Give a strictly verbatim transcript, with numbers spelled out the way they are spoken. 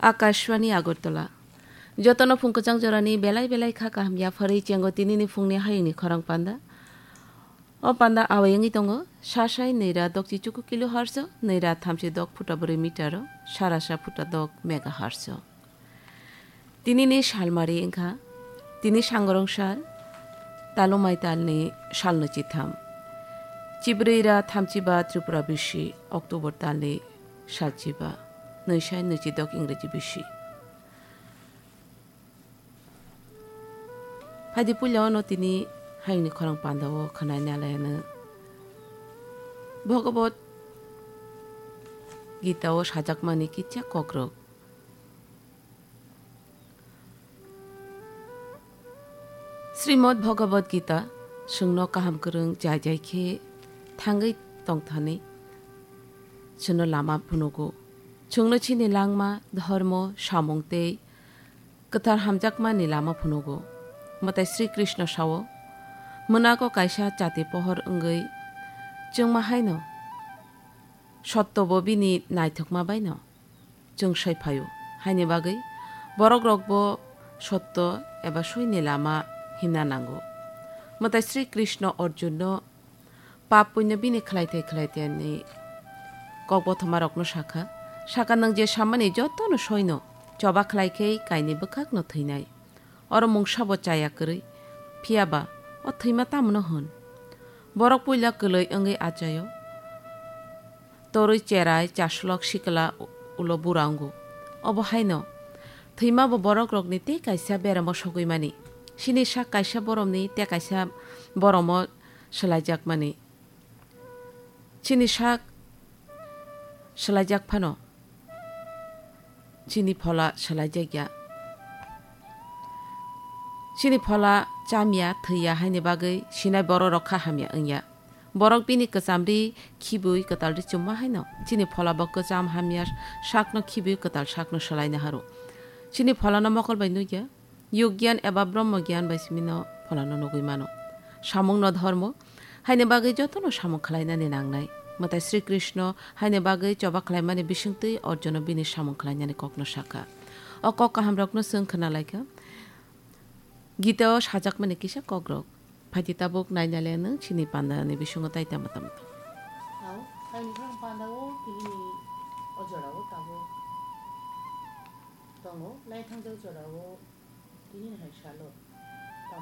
Akashvani Agartala. Jotono phung kwchang jorani belai belai kha kaham yapharwi chengo tinini phungni hayungni khorang panda. O panda awai wngwi tongo, sasai nwi ra dokchi chuku kilohertz o, nwi ra thamchi dok phuta brwi meter o, sarasa phuta dok megahertz o. Tinini salmari wngkha, tini sangrong sal, talumai talni sal nwi chitham. Chibrwi ra thamchi ba Tripura bisi, October talni sal chiba, nwi sai nwi chi dok Ingreji bisi. Phaidi puila ono tini hayungni khorang panda o khwnai nalai ano. Bhagavad Gita o sajakmani kisa kokrok. Srimad Bhagavad Gita chwngno kaham kwrwng jai jai khe thangwi tongthani chwngno lama phunugo. Chwngno chini langma, dhormo, samung tei kwthar hamjakmani lama phunugo. Mwtai Sri Krishna sao, mwnago kaisa chati pohor wngwi chwngma haino sottobo bini naithokma baino chwng soi phaio. Haini bagwi borokrokbo sotto eba soini lama himna nango. Mwtai Sri Krishna Arjunno pap puinno bini khlaithai khlaithai ni kokbothomarokno sakha, saka, "Nwng je sammani jotono soino choba khlai khe kaini bwkhakno thwinai. Oro mungsabo chaya kwrwi, phiya ba o thwima tamno hwn?" Borok puila kwlwi wngwi achaio, torwi cherai chaslok sikla ulo bura wngo. Obo haino thwima bo borokrokni tei kaisa beramo sogwi mani. Chini sak kaisa boromni tei kaisa boromo swlaijakmani. Chini sak swlaijak phano, chini phola swlaijakya. Chini phola chamya, thwiya haini bagwi sinai bororok kha hamya wngya. Borok bini kwchamri khibwi kwtalri chumma haino chini phola bo kwcham hamya sakno khibwi kwtal sakno swlaina haro. Chini pholano mokol bai nukya. Yug gyan eba Brahma gyan bai simino pholano nugwi mano. Samungno dhormo haini bagwi jotono samung khlainani nangnai. Mwtai Sri Krishna haini bagwi choba khlaimani bisingtwi Arjuno bini samung khlainani kokno sakha. O kok kahamrokno chwng khna laikha. Gita o sajakmani kisa kokrok. Phaidi tabuk naina le nwng chini pandani bisingo tai tamo tamo. Hao, haini phrang panda o tini o jora o tabuk tongo, lai thangjak jora o tini hai salo.